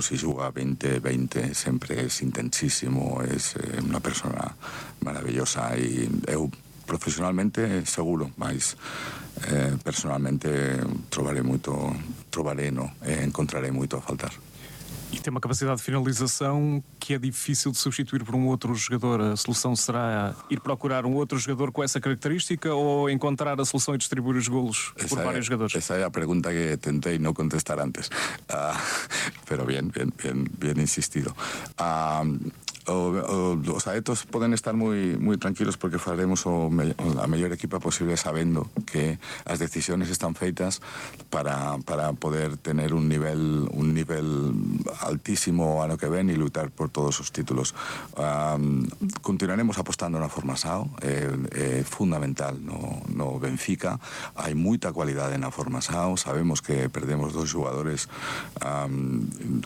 si juga 20-20 sempre és intensísimo, és una persona maravillosa e eu profesionalmente seguro, mas personalmente encontrarei moito a faltar. E tem uma capacidade de finalização que é difícil de substituir por um outro jogador. A solução será ir procurar um outro jogador com essa característica ou encontrar a solução e distribuir os golos por vários jogadores? Esa é a pregunta que tentei non contestar antes, pero bien insistido. Os adeptos poden estar moi tranquilos porque faremos a mellor equipa posible sabendo que as decisións están feitas para poder tener un nivel altísimo ano que ven e lutar por todos os títulos. Continuaremos apostando na Formasao, é fundamental no Benfica, hai moita cualidade na Formasao, sabemos que perdemos dos xogadores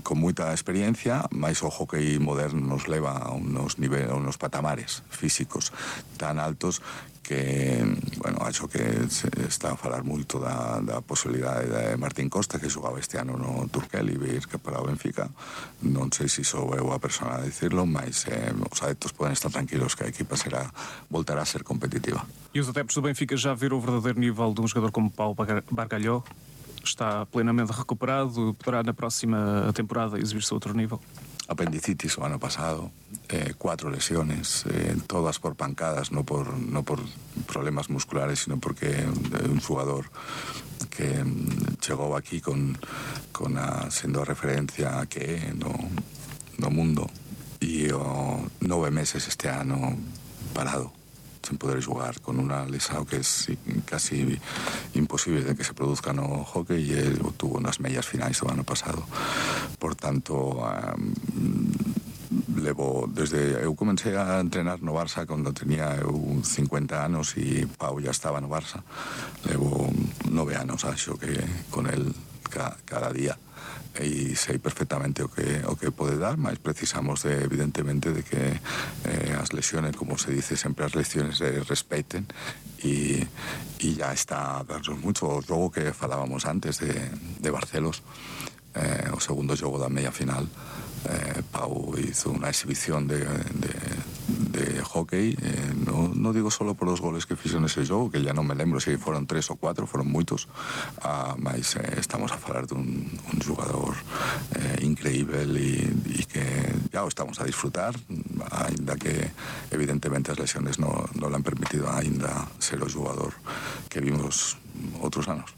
con moita experiencia, mais o hockey moderno nos leva a unos patamares físicos tan altos que, bueno, acho que se está a falar moito da posibilidade de Martín Costa, que xogaba este ano no Turquel e vir que para o Benfica. Non sei se sou eu a persona a dicirlo, mas os adeptos poden estar tranquilos que a equipa voltará a ser competitiva. E os adeptos do Benfica já viram o verdadeiro nível de um jogador como Paulo Bargalhó? Está plenamente recuperado? Poderá na próxima temporada exibir-se a outro nível? Apendicitis o ano pasado, 4 lesiones, todas por pancadas, no por problemas musculares, sino porque un jugador que chegou aquí sendo a referencia que no mundo e 9 meses este ano parado, sin poder jugar, con una lesión que es casi imposible de que se produzca no hockey, e él tuvo unas mellas finais do ano pasado. Por tanto, eu comecei a entrenar no Barça cando tenía 50 anos e Pau ya estaba no Barça. Levo 9 anos, acho que con él cada día, e sei perfectamente o que pode dar, mas precisamos evidentemente de que as lesiones, como se dice sempre, as lesiones se respeten e ya está a darnos mucho. O xogo que falábamos antes de Barcelos, o segundo xogo da media final, Pau hizo una exhibición de hockey, no digo solo por los goles que fixo nese xogo, que ya non me lembro se foron 3 ou 4, foron moitos, mas estamos a falar dun xogador increíble e que ya o estamos a disfrutar, ainda que evidentemente as lesiones non le han permitido ainda ser o xogador que vimos outros anos.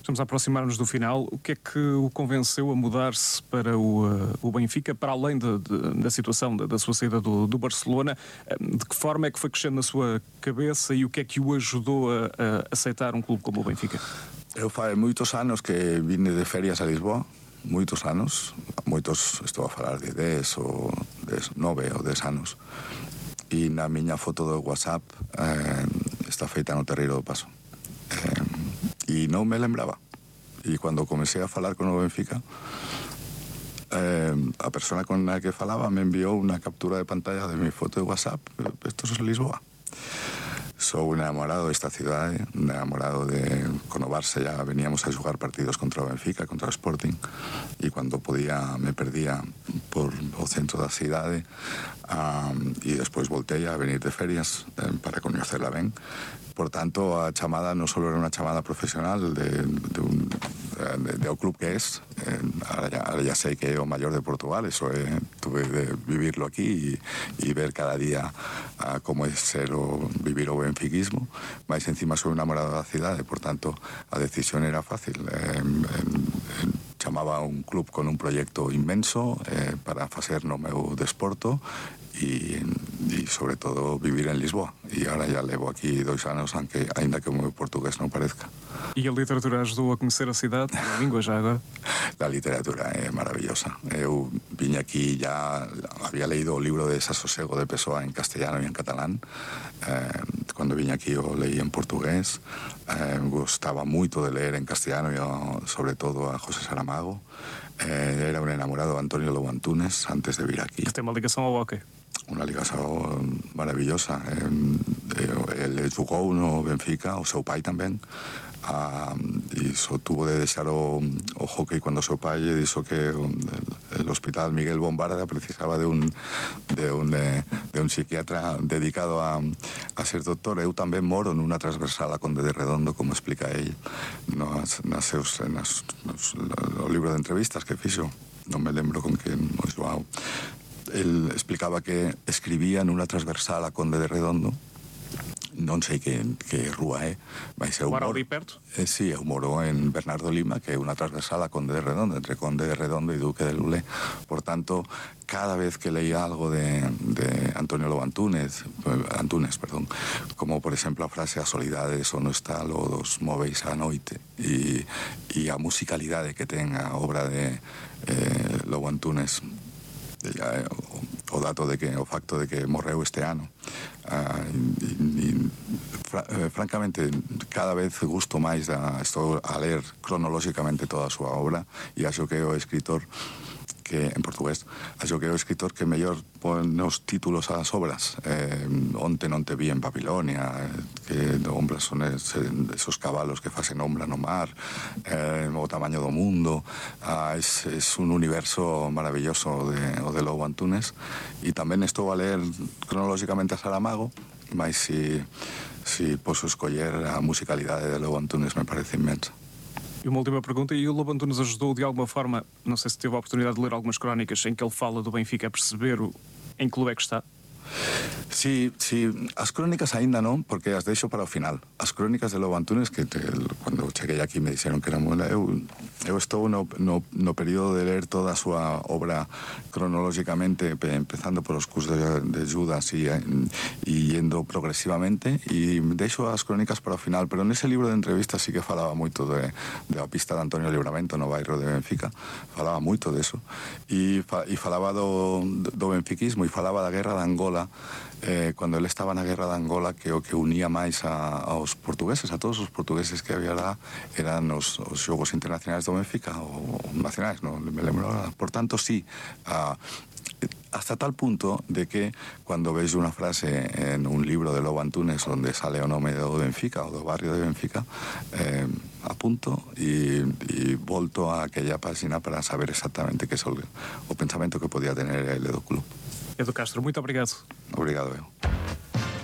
Estamos a aproximar-nos do final. O que é que o convenceu a mudar-se para o Benfica, para além da situação da sua saída do Barcelona? De que forma é que foi crescendo na sua cabeça e o que é que o ajudou a aceitar um clube como o Benfica? Eu fai moitos anos que vine de ferias a Lisboa, moitos, estou a falar de 10 ou 9 ou 10 anos, e na miña foto do WhatsApp está feita no Terreiro do Paso. E non me lembraba, e cando comecei a falar con o Benfica, a persona con la que falaba me enviou unha captura de pantalla de mi foto de WhatsApp. Esto es Lisboa. Sou un enamorado desta cidade, un enamorado con o Barça. Ya veníamos a xogar partidos contra o Benfica, contra o Sporting, e cando podía me perdía por o centro da cidade, e despois voltei a venir de ferias para coñecerla ben. Por tanto, a chamada non só era unha chamada profesional do club que es, ahora ya sei que é o maior de Portugal, eso tuve de vivirlo aquí e ver cada día como é vivir o benfiquismo, mas encima sou enamorado da cidade, por tanto a decisión era fácil. Chamaba a un club con un proxecto inmenso para facer no meu desporto e sobre todo vivir en Lisboa, e agora já levo aquí 2 anos, ainda que o meu portugués non parezca. E a literatura ajudou a conhecer a cidade, a língua já agora? La literatura é maravillosa. Eu vine aquí, ya había leído o libro de Desasosiego de Pessoa en castellano e en catalán. Cando vine aquí o leí en portugués. Gostaba moito de leer en castellano e sobre todo a José Saramago. Era un enamorado de Antonio Lobo Antunes antes de vir aquí. Que ten unha ligación ao hockey? Unha ligación maravillosa. Ele jugou no Benfica, o seu pai tamén, e iso tuvo de deixar o hockey cando o seu pai lle dixo que el hospital Miguel Bombarda precisaba de un psiquiatra dedicado a ser doctor. Eu tamén moro nunha transversal a Conde de Redondo, como explica el no libro de entrevistas que fixo, non me lembro con quen o Joao. El explicaba que escribía nunha transversal a Conde de Redondo, non sei que rúa é, mas eu moro moro ali perto? Sí, eu moro en Bernardo Lima, que é unha transversal a Conde de Redondo, entre Conde de Redondo e Duque de Lulé. Por tanto, cada vez que leía algo de Antonio Lobo Antunes, como por exemplo a frase a solidade só non está lo dos móveis á noite, e a musicalidade que ten a obra de Lobo Antunes, o facto de que morreu este ano, francamente cada vez gusto máis estou a ler cronolóxicamente toda a súa obra, e acho que é o escritor que, en portugués, acho que é o escritor que mellor pon os títulos ás obras. Onte non te vi en Babilonia, que ombras son esos cabalos que facen ombra no mar, o tamaño do mundo. Es un universo maravilloso o de Lobo Antunes, e tamén estou a ler cronolóxicamente a Saramago, mas si posso escoller a musicalidade de Lobo Antunes me parece inmensa. E uma última pergunta, e o Lobo Antunes ajudou de alguma forma, não sei se teve a oportunidade de ler algumas crónicas em que ele fala do Benfica, a perceber em que clube é que está? Sí, as crónicas aínda non, porque as deixo para o final. As crónicas de Lobo Antunes, que cando cheguei aquí me dixeron que era moi... Eu estou no período de ler toda a súa obra cronolóxicamente, empezando por os cursos de Judas e yendo progresivamente, e deixo as crónicas para o final, pero nese libro de entrevistas sí que falaba moito da pista de Antonio Livramento no bairro de Benfica, falaba moito deso, e falaba do benfiquismo, e falaba da guerra de Angola, cando ele estaba na guerra de Angola, que o que unía máis aos portugueses, a todos os portugueses que había lá, eran os xogos internacionais do Benfica, ou nacionais, non me lembro ahora. Por tanto, sí, hasta tal punto de que cando vexo unha frase en un libro de Lobo Antunes onde sale o nome do Benfica ou do barrio de Benfica, apunto e volto a aquella página para saber exactamente que é o pensamento que podía tener ele do club. Edu Castro, muito obrigado. Obrigado eu.